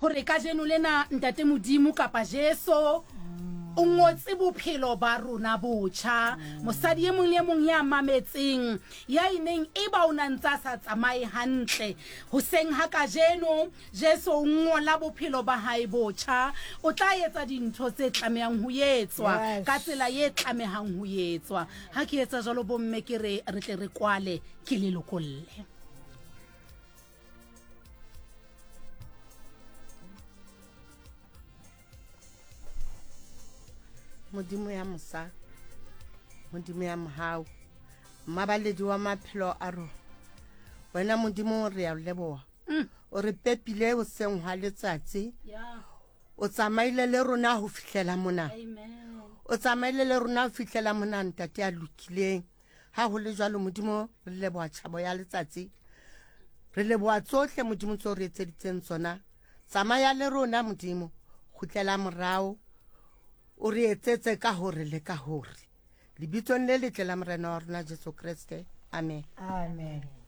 Hore kajeno lena Ntate Modimo kapa Jesu o ngotse bophelo ba rona botjha. Mosadi e mong le e mong ya mametseng, ya e neng e ba o na ntse a sa tsamaye hantle, hoseng ha kajeno Jesu o ngola bophelo ba hae botjha. O tla etsa dintho tse tlamehang ho etswa ka tsela e tlamehang ho etswa. Ha ke etsa jwalo bomme ke re re tle re kwale ke le lokolle. Modimo ya mosa, Modimo ya mohau, mmabaledi wa maphelo a rona. Wena Modimo re ya leboha. Mm. O re pepile hoseng hwa letsatsi. O tsamaile le rona ho fihlela mona. O tsamaile le rona ho fihlela mona ntate ya lokileng. Ha ho le jwalo Modimo re leboha tjhabo ya letsatsi. Re leboha tsohle Modimo tseo re etseditseng tsona. Tsamaya le rona Modimo, kgutlela morao o re etsetse ka hore le ka hore. Lebitsong le letle la Morena wa rona Jesu Kreste. Amen. Amen.